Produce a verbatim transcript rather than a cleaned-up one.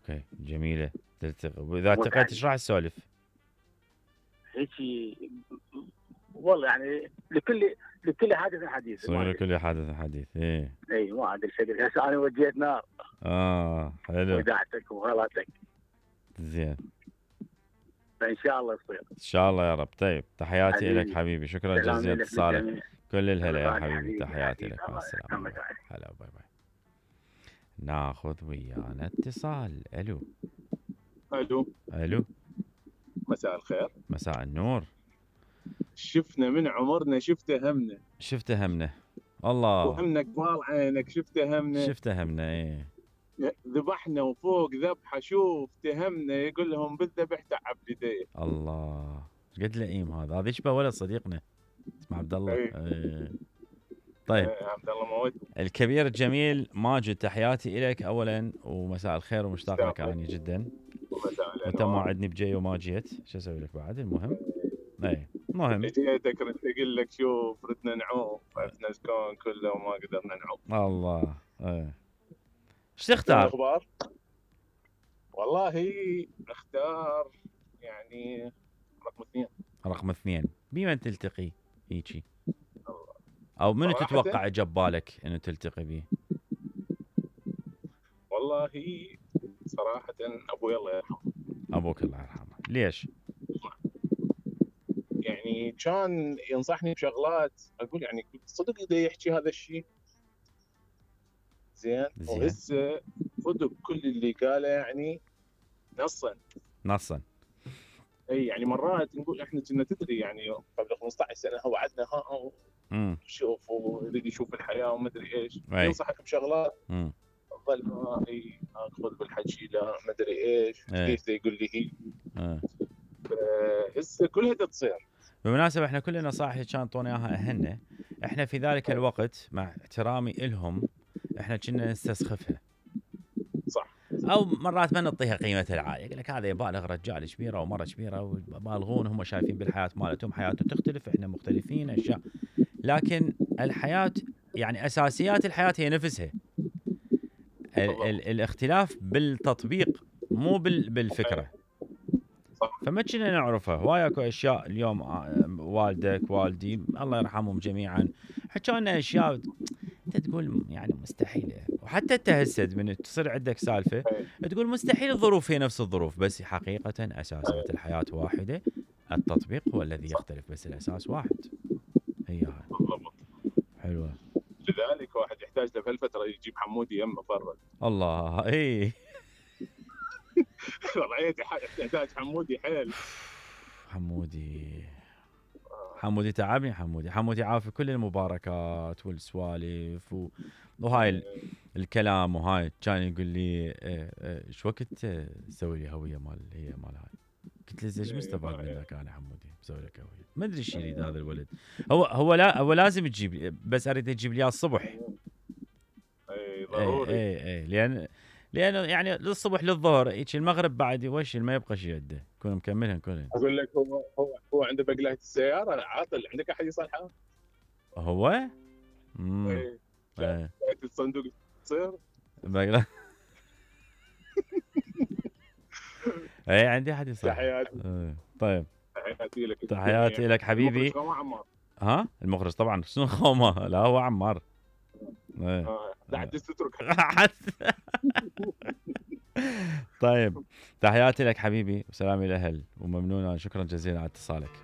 اوكي جميله تلتقي، واذا التقيت ايش راح تسولف؟ هيك والله يعني لكل لكل حادث حديث. صغير لكل حادث حديث. ايه اي ما عاد الفكر. هسه انا وجيت نار. اه حلو. ودعتك وغلطك. زين. فان شاء الله يصير. ان شاء الله يا رب. طيب تحياتي لك حبيبي، شكرا جزيلا لاتصالك. كل الهلا يا حبيبي، تحياتي لك، مع السلامه. هلا باي باي. ناخذ ويانا اتصال. الو. الو. الو. مساء الخير. مساء النور. شفنا من عمرنا شفته همنا. شفته همنا. الله. وهمنا قبال عينك شفته همنا. شفته همنا. ايه. ذبحنا وفوق ذبحه شوف تهمنا، يقول لهم بالذبح تعب يديه. الله قد لئيم هذا، هذا يشبه ولد صديقنا اسمه عبد الله. ايه. ايه. طيب ايه عبد الله موت. الكبير الجميل ماجد، تحياتي لك اولا ومساء الخير ومشتاق لك اني جدا. وانت موعدني بجاي وما جيت، شو اسوي لك بعد؟ المهم اي المهم جيتك ردت اقول لك شوف ردنا نعوم عرفنا الكون كله وما قدرنا نعوم. الله. ايه ايش تختار؟ الاخبار والله اختار يعني رقم اثنين. رقم اثنين بمن تلتقي هيجي؟ او منو تتوقع جبالك انه تلتقي به؟ والله صراحة ابوي الله يرحمه. ابوك الله يرحمه. ليش؟ يعني كان ينصحني بشغلات اقول يعني صدق اذا يحكي هذا الشيء زين, زين. وهسه صدق كل اللي قاله يعني نصا نصا. اي يعني مرات نقول احنا كنا تدري يعني قبل خمسة عشر سنه هو وعدنا ها امم شوف ويريد يشوف الحياه وما ادري ايش ينصحك بشغلات امم ظل ما اي اخذ بالحكي لا ما ادري ايش ليش يقول لي هي اه هسه كلها تصير. بالمناسبة احنا كل النصائح اللي كانوا يعطونا اياها اهلنا احنا في ذلك الوقت مع احترامي الهم احنا كنا نستسخفها. صح. او مرات ما نعطيها قيمتها العاليه، يقول لك هذا يبالغ رجال كبيره ومره كبيره وبالغون، هم شايفين بالحياه مالتهم حياتهم تختلف، احنا مختلفين اشياء، لكن الحياه يعني اساسيات الحياه هي نفسها. ال ال الاختلاف بالتطبيق مو بالفكره. فما كنا نعرفها. هواي اكو اشياء اليوم والدك والدي الله يرحمهم جميعا حكوا لنا اشياء انت تقول يعني مستحيله، وحتى انت هسه من تصير عندك سالفه تقول مستحيل الظروف هي نفس الظروف، بس حقيقه اساسات الحياه واحده، التطبيق هو الذي يختلف بس الاساس واحد. هي هاي بالضبط. حلوه. لذلك واحد يحتاج له بهالفتره يجيب حمودي يمه فرد. الله. اي والله يحتاج حمودي حيل. حمودي حمودي تعبني. حمودي حمودي عافي كل المباركات والسوالف و... وهاي الكلام، وهاي كان يقول لي ايش وقت تسوي لي هويه مال هي مال هاي. قلت له ايش مستفاد منك انا حمودي بسوي لك هويه؟ ما ادري ايش يريد هذا الولد. هو هو لا هو لازم تجيب لي، بس اريد تجيب لي الصبح. اي ضروري. اي اي لان لانه يعني للصبح للظهر هيك المغرب بعد وش ما يبقى شيء عنده، يكون مكملهم كلهم. اقول لك هو هو هو عنده بقلايه السياره عاطل، عندك احد يصلحها؟ هو؟ امم اي ايه الصندوق تصير بقلايه. اي عندي احد يصلح. تحياتي. طيب تحياتي لك. تحياتي لك حبيبي. ها المخرج طبعا شنو خومه؟ لا هو عمار. اه لا حد تترك. طيب تحياتي لك حبيبي وسلامي الاهل وممنون، شكرا جزيلا على اتصالك.